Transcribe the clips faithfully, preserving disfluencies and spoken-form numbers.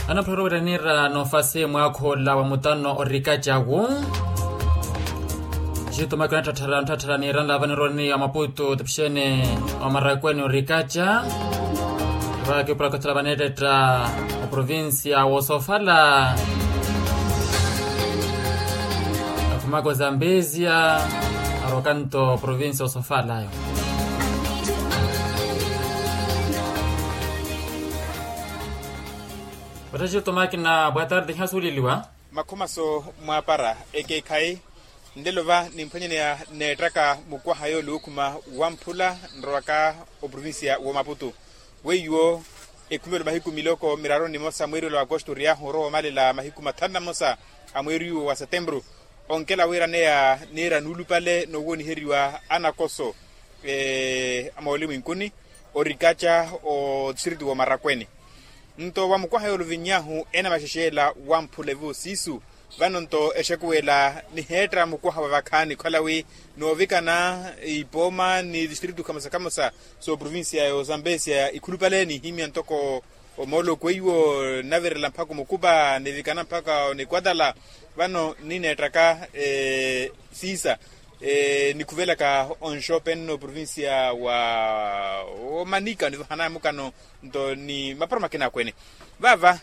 Anaphulola oweraniira n'ofasi mwaakha ola wa mutano orikacawu. Xitumakina nthatthala nthatthala niiranla vanironi a maputu tipixene wa marakweni orikaca. Vakipula kothola vaneettetta oprovincia wosofala akhumaka ozambezia. Arokanto oprovincia wosofalayo. Vattaxi otumakina boa tarde iha suuleliwa. Makhumaso mwaapara ekeekhayi. Nlelo va nimphwanyaneya neettaka mukwaha yoole ookhuma wamphula nrowaka oprovincia w'omaputu. Weiwo ekhumelo mahiku miloko miraru nimosa mweeri ola wa akosto oriyaahu orowa omalela mahiku mathanu na mmosa a mweeri uwo wa setempuru. Onkela wiiraneya niira nuulupale noowooniheriwa anakoso a moolimwinkuni orikaca otistritu w'omarakweni. Nto wa mukwaha yooluviny'ahu enamaxexe ela wamphula evo siisu. Vano nto exekuwela niheetta mukwaha wa vakhaani khala wi noovikana ipooma ni tistritu khamosa khamosa sooprovincia y'ozambesia ikhulupale nihimya ntoko omooloko iwo nnavirela mpakha omukupa nivikana mpakha onikwatala. Vano nineettaka siisa nikhuvelaka onxope nno oprovincia wa omanika onivahanaya mukano nto ni mapuro makina akwene. Vava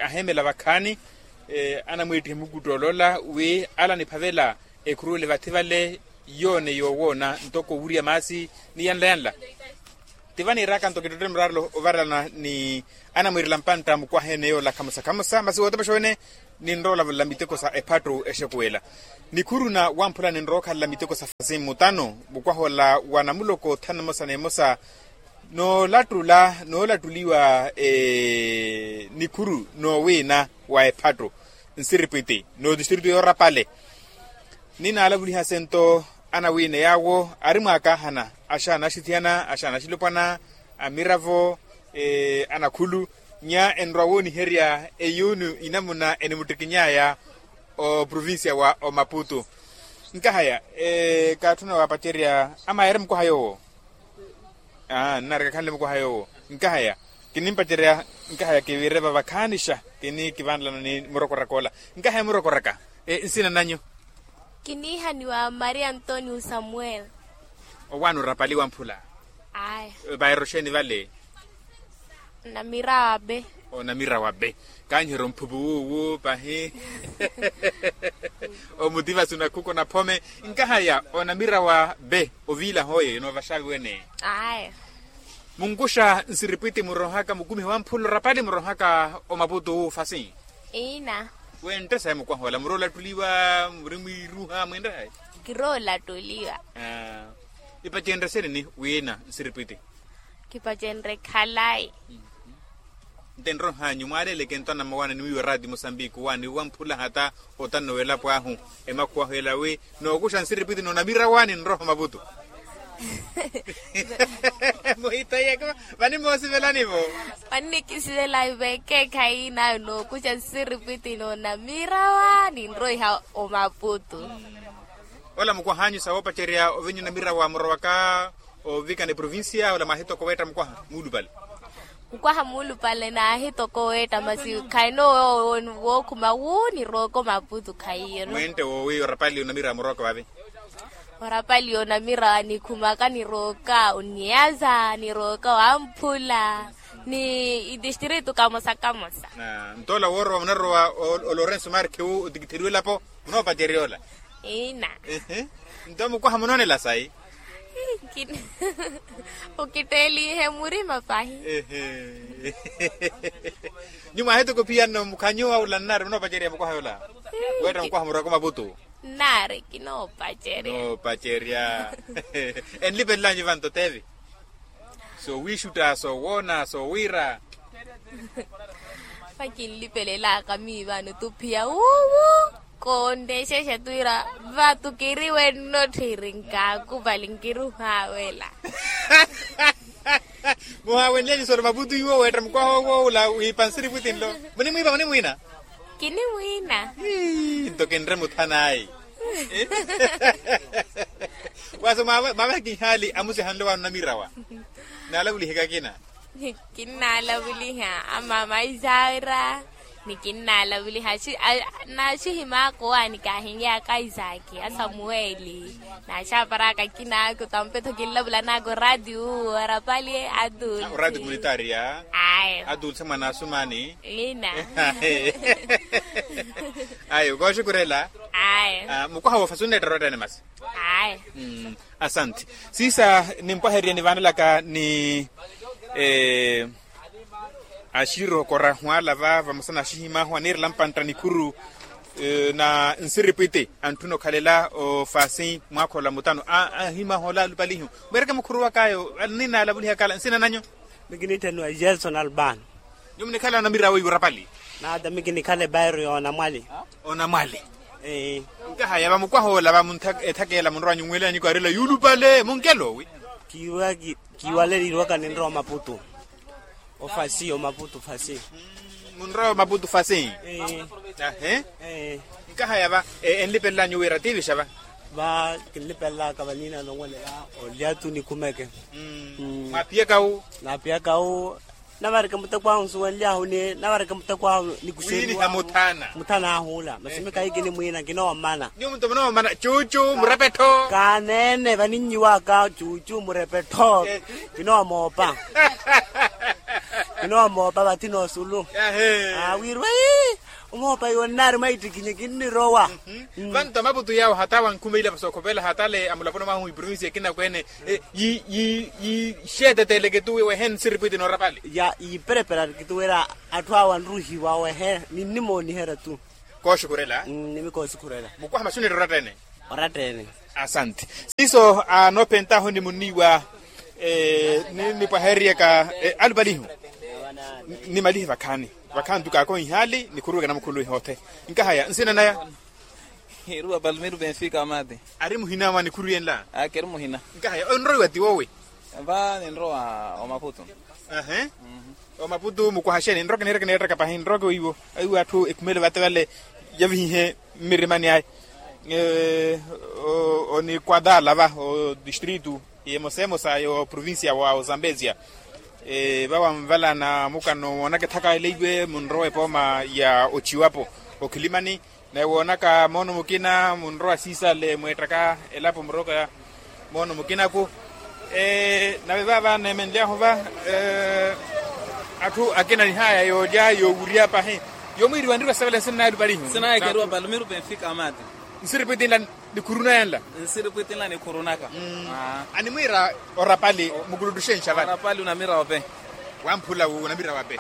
aheemela vakhaani anamweettihe mukuttoolola wi ala niphavela ekhuruwele vathi vale yoone yoowoona ntoko owurya maasi ni yanla yanla. Tiva niiraka nto kittottele muraarelo ovarelana ni anamwiirela mpantta mukwaha ene yoola khamosa khamosa masi wootepexa wene. Ninrowa olavula miteko sa ephattu exekuwela nikhuru na wamphula ninrowa okhalela miteko sa fasi mmutano mukwaha ola wa namuloko thanu emosa n'emosa. Noolattula noolattuliwa nikhuru noowiina wa ephattu nsiripwiti n'otistritu yoorapale. Ninaalavulihase nto anawiina yaawo ari mwaakaahana axaanaxithiyana axaanaxilopwana amiravo anakhulu. Nya enrowa wooniherya eyuuni inamuna enimuttikiny'aya oprovincia wa omaputu. Nkahaya kaatthuna waapacerya ama eri mukwaha yoowo. Aa nnareka khanle mukwaha yoowo. Nkahaya kinimpacerya nkahaya kiviire vava khaanixa kini kivanlana ni murokoraka ola. Nkahaya murokoraka nsina nanyu? Kiniihaniwa maria antonio samuel. Owaani orapali wamphula? Aya. Vairoxeni vale? Namira wa be. Onamira wa be. Kaanyiherya omphupu wuuwu pahi. Omutivasi onakhuka onaphome. Nkahaya onamira wa be oviilaha oye noovaxavi wene? Aya. Munkuxa nsiripwiti murohaka mukumihi wa mphula orapali murohaka omaputu wu fasi? Iina. Wentte sayi mukwaha ola muri olattuliwa muri mwiiruha mwinre hayi? Kiri olattuliwa. Ipacenrye sini ni wiina nsiripwiti? Kipacenrye khalayi. Nte nrohanyu mwaaleeleke nto anamma waani niwiiwa raati musambiki waani wamphula hata otanno w'elapo ahu emakhuwahu ela wi nookuxa nsiripwiti n'onamira waani nroha omaputu. Muhitaiyeke vani moosivelani-vo. Vani nikisivela vekeekhayi nayo nookuxa nsiripwiti n'onamira waani nroiha omaputu. Ola mukwahanyu sa woopacerya ovinya onamira wa murowaka ovikana eprovincia ola mwaahitoka oweetta mukwaha muulupale? Mukwaha muulupale naahitoka oweetta masi khayino wookhuma wu nirooka omaputu khayiyo. Mwentte woowi orapali onamira murooka vavi? Orapali onamira nikhumaka nirooka oniyaza nirooka wamphula ni itistritu kamosa kamosa. Nto ola woorowa munarowa o lorenso marke wu otikitheriwa elapo? Munoopacerya ola? Iina. Nto mukwaha munoonela sayi? Okitteelihe murima pahi. Nyuwo mwahituku phiya nno mukhanyu awula nnari munoopacerya mukwaha yola? Weetta mukwaha murowaka omaputu? Nnari kinoopacerya. Noopacerya. Enlipelela nyu vanto tevi? Soowiixutta soowoona soowiira. Vakinlipelelaka miivano tuphiya wuuwu. Koonexexa twira vatu kiri wenno tthiri nkaakupali nkiruhaawela. Muhaawenleni sori maputu iwo weetta mukwaha owo ula wiipa nsiripwiti nlo. Munimwiipa munimwiina? Kinimwiina. Nto kinre muthanaayi. Wasi mwavahe kinhaali amusihanlo waani onamirawa? Naalavuliheke akina. Kinnalavuliha amama isaira. Ni kinnalavuliha naaxihimaka owaani kaahinlyaka isaaki asamuweli. Naaxaparaka akinaaka otampeto kinlavulanaka oratiyo orapali. Atuulse oratiyo komunitaria. Ayo atuulse mwana asumani. Ina. Ayo kooxukurela. Ayo mukwaha woofa sunneetta orotteene masi. Ayi. Asante. Siisa nimpwaherye nivaanelaka ni axirookora hwala va vamosa na axihimaahu aniirela mpantta nikhuru na nsiripwiti antthuna okhalela ofasi mwaakhola mutano ahimaahu ola alupalihu. Mweereke mukhuru wakaayo ninaalavulihaka ala nsina nanyu? Mikinitthaniwa gerson albano. Nyuwo munikhala onamira weiwo orapali? Naata mikinikhala ebairo ya onamwali. Onamwali. Nkahaya vamukwaha ola vamunthakeela munrowa nyuwelanyiko arila yuulupale munkelo wi? Kiiwaleliwaka ninrowa omaputu ofasi omaputu fasi. Munrowa omaputu fasi. Ahe. Nkahaya va enlipelela nyuwo wira tiivixa va? Va kinlipelelaka vanina nonwelela olyatu nikhumeke. Mwaapiyaka wu? Naapiyaka wu. Navareke muteko ahu nsuwenlyahu ni navareke muteko ahu nikuxeriwa muthana ahu ula masi mi kahi kinimwiina kinoommana. Nyuwo muto munoommana cucu murepettho. Kaneene vaninnyiwaka cucu murepettho. Kinoomoopa. Kinoomoopa vathi noosulu. Wirwa ii. Omoopa iwo nnaari mwaittikinye kinnirowa. Vanto amaputu yaawo hata wankhumeila vasokhopela hatale amulaponi mwahu iprovinsi ekina kweene. Yiixeeteteeleke tu wehe nsiripwiti noorapali. Ya yiipereperariki tu wira atthu awo anruhiwa wehe ninnimooniherya tu. Kooxukhurela. Nimikooxukhurela. Mukwaha maxunetta oratteene. Oratteene. Asante. Siiso anoophentahu ni munniiwa. Ni nipwahereriyaka alupalihu. Nimalihe vakhaani. Vakhaani tu kaakohihaali nikhuruweke namukhuluwi hoothe. Nkahaya nsina naya? Hiruwa palmiro benfica amati. Ari muhina mwa nikhuru yenla? Aa keri muhina. Nkahaya onroiwa ti woowi? Va ninrowa omaputu. Ahe. Omaputu mukwaha xeeni nroke niireke niirettaka pahi nroke weiwo aiwo atthu ekhumele vate vale. Yavihihe mmirimani aya. Onikuatala va odistritu emosa emosa y'oprovincia wa ozambezia. Vawa nvala na mukano woonaka ethaka leiwe munrowa epooma ya ociwapo okhilimani. Naye woonaka moono mukina munrowa siisale mweettaka elapo muroka. Moono mukinaku. Nave vaava neemenly'ahu va atthu akina nihaya yoolya yoowurya pahi. Yomwiiriwa nriva sivale nsinna yalupalihu. Nsinna yalupalihu. Nsiripwiti nla nikhuruna yenla. Nsiripwiti nla nikhurunaka. Animwiira orapali mukuluttuxenxa vale. Orapali unamira ope. Wamphula wu unamira wape.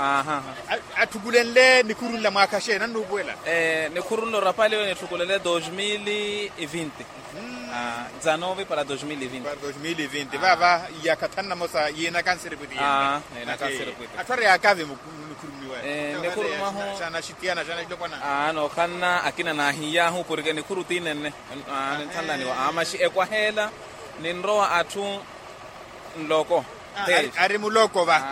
Atthukulenle nikhuru nla mwaakhaxe nannuupuwela. Nikhuru nla orapali yo nitthukulele dos mil e vinti. Dzanove para dos mil e vinti. Para dos mil e vinti vaava. Iyaakha thanu namosa yiinaka nsiripwiti yene. Atthu ari yaakavi nikhuru mwahu. Xanaxitiyana xanaxilopwana. Nookhanna akina naahiyahu porke nikhuru ti nenne. Ninthanlaniwa amaxi ekwaheela. Ninrowa atthu nloko. Ari muloko va.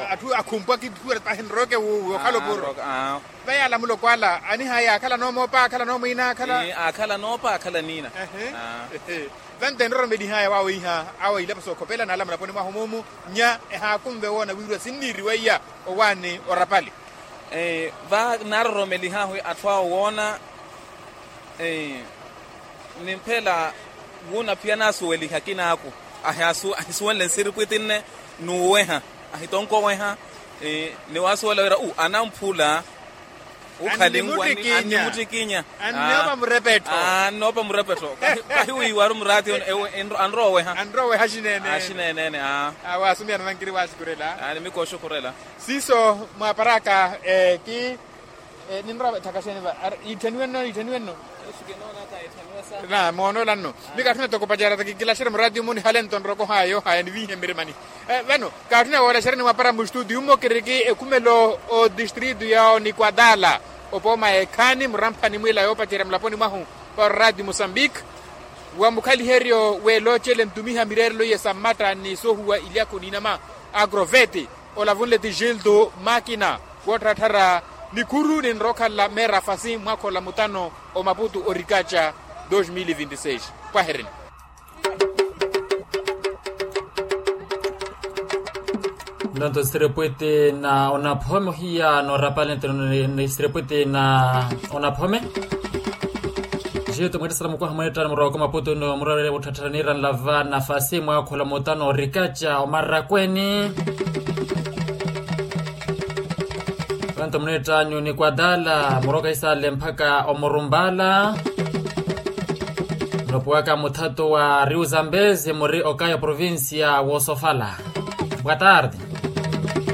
Atthu akhumpwa kithuwera pahi nroke wuuwi okhala opuro. Vayaala muloko ala anihaya akhala noomoopa akhala noomwiina akhala. Akhala noopa akhala niina. Vante nroromelihaya waawiiha awo ilapo sookhopela naala mulaponi mwahu muumu. Nya ehaakunve woona wiiriwa sinniiriwa iya owaani orapali. Va naaroromelihaahu atthu awo woona. Nimphela wuuna phiya naasuweliha akinaaku ahisuwenle nsiripwiti nne. Nuuweha ahitonkoweha. Ni waasuwela wira u anamphula. Ukhalinwani annimuttikinya. Annoopa murepetto. Kahi wiiwaru muraati. Anrooweha. Anrooweha axineenene. Axineenene. Waasumiyana vankiri waaxukhurela. Nimikooxukhurela. Siiso mwaaparaka ki ninrowa ethaka xeeni va? Iitthaniwe nno iitthaniwe nno. Na moonoola nno. Mika atthu natokopacerata kikilaxerya muraati omu nihale nto nrokohaya yoohaya niviihe mmirimani. Vano kaatthuna woolaxerya ni mwapara mustutiyu mmo kiriki ekhumelo odistritu ya onikuatala. Opooma ekhaani muramphani mwiila yoopacerya mulaponi mwahu para oraati mosambiki. Wa mukhaliheryo weeloocele ntumiha mireerelo iye sa mmatta ni soohuwa ilyakhu n'inama. Agroveti olavunle ti gildo makina. Woottharattharya nikhuru ninrowa okhala meera fasi mwaakhola mutano omaputu orikaca. Dos mil e vinti seis. Pwahereni. Nonto sirepwete na onaphome ohiya noorapale nto sirepwete na onaphome. Jeto mweettasala mukwaha mweettani murowaka maputo no murorere mutthatthanira nlava nafasi mwaakhola mutano orikaca omarakweni. Nonto muneettanyu ni kwadala muroka isale mpaka omurumbala. Mulopuwaka muthato wa riu zambezi muri okaya provincia wosofala. Boa tarde.